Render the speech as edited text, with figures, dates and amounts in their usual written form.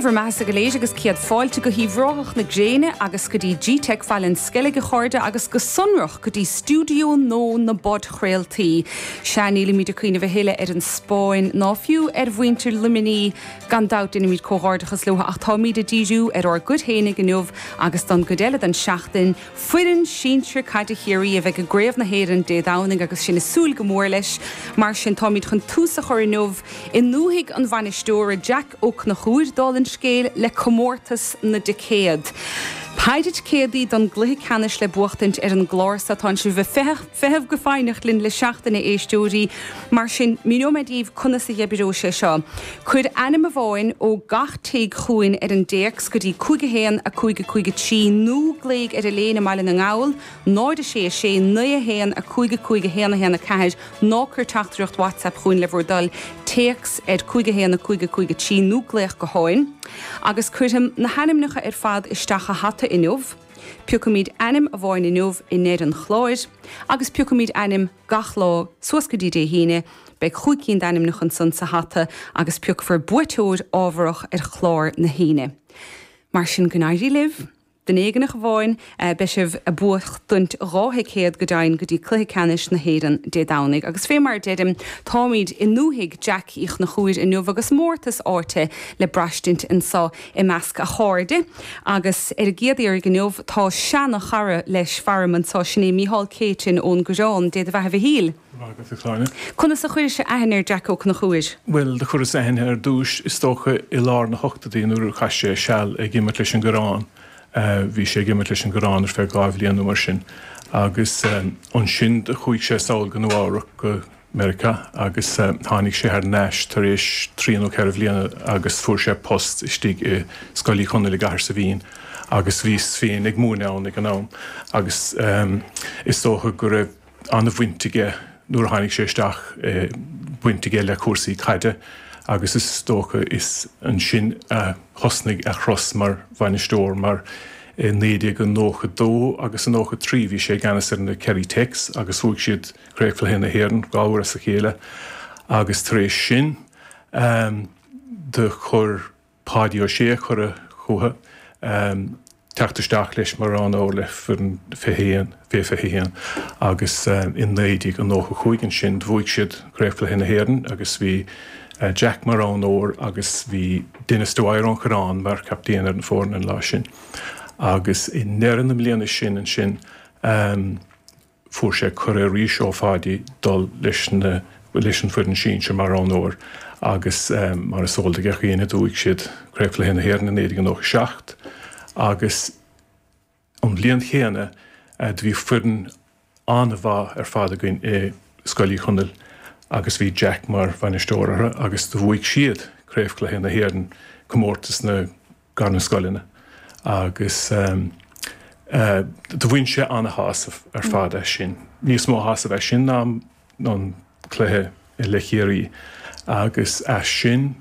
Dé bhur mbeathasa go léir agus céad fáilte go hUíbh Ráthach na gréine agus go dtí Gteic Bhaile an Sceilg a chairde agus go sonrach go dtí stiúideo nua na bpodchraoltaí. Sea, nílimid ag cuimhneamh a thuilleadh ar an Spáinn ná fiú ar mhuintir Luimnigh, gan dabht déanaimid comhghairdeachas leo ach táimid ag díriú ar ár gcuid fhéinig inniu agus don gcuid eile den seachtain, Foireann sinsir caide Chiarraí a bheidh i gCraobh na hÉireann Dé Domhnaigh agus sinn ag súil go mór leis. Mar sin, táimid chun tús a chur inniu i ndúthaigh an bhainisteora, Jack Ó Conchúir, dála an scéil, le comórtas na dticéad. Péire ticéadaí don gcluiche ceannais le buachtaint ar an gclár so. Tánn sibh ag feitheamh go foighneach linn le seachtain, a éisteoirí. Mar sin, míneoidh mé daoibh conas a dh'oibreoidh sé seo. Cuir ainm amháin ó gach tigh chugainn ar an dtéacs go dtí 5 1 5 5 3 nó glaoigh ar an léine i mBaile na nGall, 0 6 6 9 1 5 5 1 1 4 ná cuir teachtaireacht WhatsApp chugainn le bhur dtoil, téacs ar 5 1 5 5 3 nó glaoch gutháin. Agus cuirfeam na hainmneacha ar fad isteach i hata inniu. Piocfaimid ainm amháin inniu i ndeireadh an chláir agus piocfaimid ainm gach lá suas go dtí Dé hAoine. Beidh chúig cinn d'ainmneacha ansan sa hata agus piocfar buaiteoir ámharach ar chlár na hAoine. Mar sin go n-éirí libh! Duine éigineach amháin, beidh sibh ag buachtaint 2 thicéad go deimhin go dtí Cluiche Ceannais na hÉireann Dé Domhnaigh. Agus fé mar a deirim, táimid i ndúthaigh Jack Uí Chonchúir inniu agus mórtas áite le braistint anso i measc a chairde. Agus ar an gcéad iarraidh inniu tá seana-chara leis faram anso, sin é Mícheál Céitinn ón gCoireán. Dé do bheatha a Mhichíl. Maith agat, a Shláine. Conas a chuiris aithne ar Jack Ó Conchúir? Bhuel, do chuireas aithne ar dtúis, is dócha, i lár na hochtóidí nuair a chaith sé seal ag imirt leis an gCoireán. Bhí sé ag imirt leis an gCoireán ar feadh 2 bhliain nó mar sin agus ansin do chuaigh sé sall go Nua Eabhrac, go Meiriceá agus tháinig sé thar n-ais tar éis trí nó ceithre bhliana agus fuair sé post istigh i Scoil Uí Chonaill i gCathair Saibhín agus bhíos féin ag múineadh ann ag an am agus is dócha go raibh an-bhaint aige nuair a tháinig sé isteach, baint aige le cúrsaí caide agus is dócha is ansin a thosnaigh a thuras mar bhainisteoir mar i 1992 agus i 93 bhí sé i gceannas ar na Kerry Techs agus bhuaigh siad Craobhchluiche na hÉireann 2 uair as a chéile agus tar éis sin do chuir Páidí Ó Sé cuireadh chuige teacht isteach leis mar roghnóir le foireann 21, fé 21, agus i 1995 ansin bhuaigh siad Craobhchluiche na hÉireann agus bhí Jack mar roghnóir agus bhí Denis Dwyer ón Choireán mar chaptaen ar an foireann an lá sin. Agus i ndeireadh na mbliana sin ansin, Fuair sé cuireadh arís ó Pháidí dul leis na leis an foireann sinsir mar roghnóir agus mar is eol do gach éinne bhuaigh siad Craobhchluiche na hÉireann i 1997 agus an bhliain chéanna do bhí foireann an-mhaith ar fad againn i Scoil Uí Chonaill agus bhí Jack mar bhainisteoir orthu agus do bhuaigh siad Craobhchluiche na hÉireann, comórtas na Gairmscoileanna agus do bhain sé ana-shásamh ar fad as sin, níos mó shásamh as sin ná an cluiche le Ciarraí agus as sin.